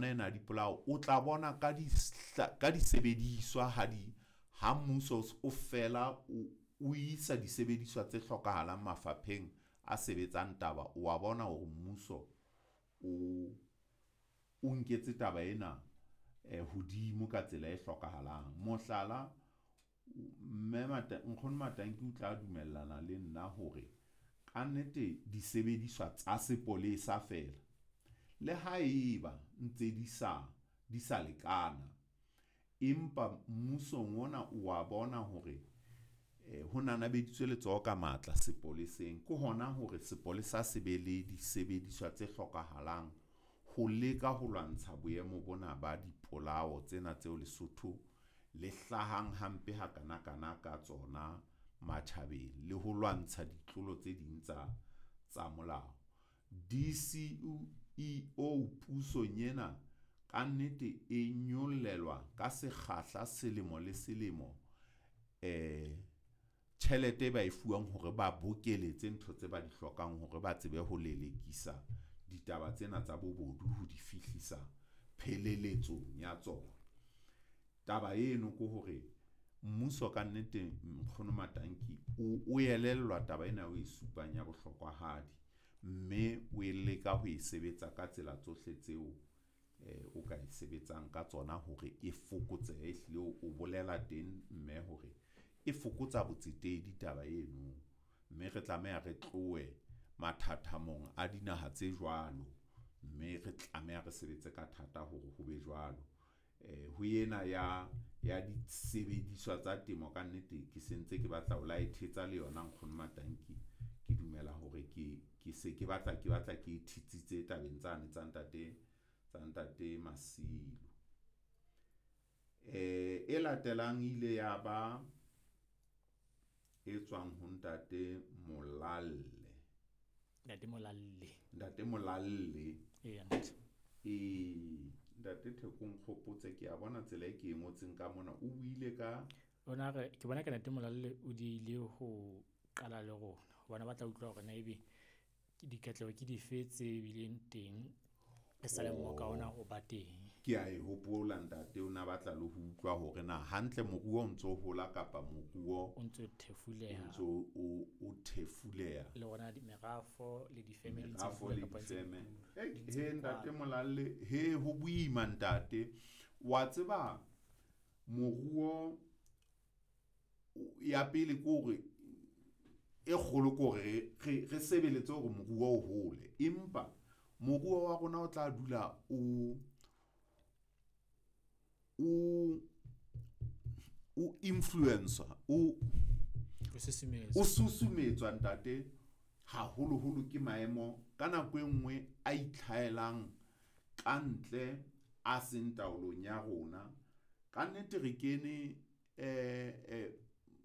Ena dipolao o tla bona ka ka disebediswa ha di ha mmuso o fela o isa disebediswa tse hlokahalang mafapheng a sebetsang taba, wa bona hore mmuso o nketse taba ena hodimo ka tsela e hlokahalang. Mohlala, Mme Nkgono Matanki o tla dumellana le nna hore kannete disebediswa tsa sepolesa feela le haeba ntse di sa di sa lekana, empa mmusong ona wa bona hore ho nanabeditswe letsoho ka matla sepoleseng. Ke hona hore sepolesa se be le disebediswa tse hlokahalang ho leka ho lwantsha boemo bona ba dipolao tsena tseo Lesotho le hlahang hampe hakanakana ka tsona matjhabeng le ho lwantsha ditlolo tse ding tsa molao. DCEO pusong ena kannete e nyollelwa ka sekgahla selemo le selemo tjhelete e ba e fuwang hore ba bokeletse ntho tse ba di hlokang hore ba tsebe ho lelekisa ditaba tsena tsa bobodu ho di fihlisa pheleletsong ya tsona. Taba eno ke hore mmuso kannete Nkgono Matanki o elellwa taba ena o e supang ya bohlokwahadi. Mme o e leka ho e sebetsa ka tsela tsohle tseo o ka e sebetsang ka tsona hore e fokotsehe. Ehlile o bolela teng mme hore e fokotsa botsetedi taba eno, mme re tlameha re tlohe mathathamong a dinaha tse jwalo. Mme re tlameha re sebetse ka thata hore ho be jwalo. Ho ena ya disebediswa tsa temo kannete ke sentse ke batla ho la e thetsa le yona Nkgono Matanki. Ke dumela hore ke se ke batla ke batla ke thetsitse tabeng tsane tsa ntate Masilo. E latelang e ile ya ba e tswang ho Ntate Molalle. Ntate Molalle. Ntate Molalle. Eya, ntate. E, Ntate Theko nkgopotse ke a bona tsela e ke e ngotseng ka mona. O buile ka Ona re ke bona ka Ntate Molalle o diehile ho qala le rona hobane ba tla utlwa hore na ebe dikatleho ke dife tse bileng teng e sa le mmoka ona o ba teng. Ke a e hopola ntate, o na batla le ho utlwa hore na hantle moruo o ntso hola kapa moruo O ntso thefuleha. O ntso o thefuleha. Le rona merafo le difeme di ntse Merafo di le hula kapa ntse di difeme. hula. He, Di ntse di ntate kwala. Molalle, he ho boima ntate. Wa tseba moruo ya pele ke hore e kgolo ke hore re sebeletse hore moruo o hole, empa moruo wa rona o tla dula o influence-wa, O susumetswa. o susumetswa ntate haholoholo ke maemo ka nako e nngwe a itlhaelang ka ntle a seng taolong ya rona. Kannete re kene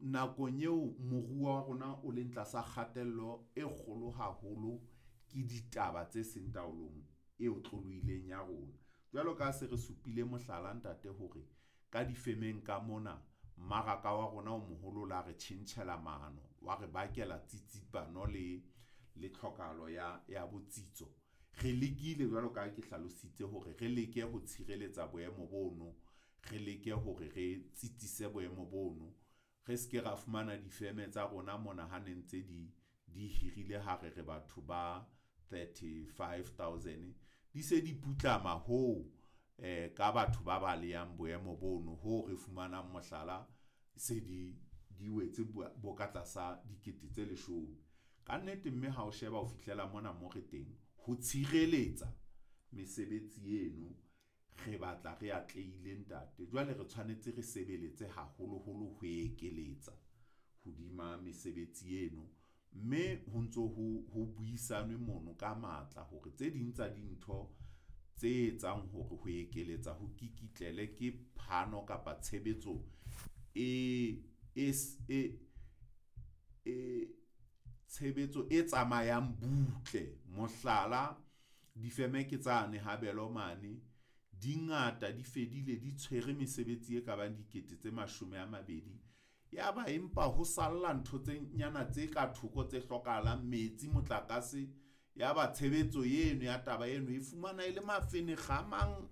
nakong eo moruo wa rona o leng tlasa kgatello e kgolo haholo ke ditaba tse seng taolong e otlolohileng ya rona. Jwalo ka ha se re supile mohlala ntate hore ka difemeng ka mona mmaraka wa rona o moholo o la re tjhentjhela mano, wa re bakela tsitsipano le tlhokahalo ya botsitso. Re lekile jwalo ka ha ke hlalositse hore re leke ho tshireletsa boemo bono, re leke hore re tsitsise boemo bono. Re se ke ra fumana difeme tsa rona mona ha ne ntse di hirile ha re re batho ba 35,000 di se di putlama hoo ka batho ba balehang boemo bono hoo re fumanang mohlala se di wetse bo ka tlasa dikete tse 10. Kannete mme ha o sheba ho fihlela mona mo re teng ho tshireletsa mesebetsi eno re batla re atlehile ntate. Jwale re tshwanetse re sebeletse haholoholo ho ekeletsa hodima mesebetsi eno, mme ho ntso ho buisanwe mono ka matla hore tse ding tsa dintho tse etsang hore ho ekeletsa ho kikitlele ke phano kapa tshebetso e tshebetso e tsamayang butle. Mohlala, difeme ke tsane ha Belo mane di ngata, di fedile, di tshwere mesebetsi e kabang dikete tse 20. Yaba empa ho salla ntho tse nyana tse ka thoko tse hlokahalang, metsi, motlakase. Yaba tshebetso eno ya taba eno e fumana e le mafenekga a mang.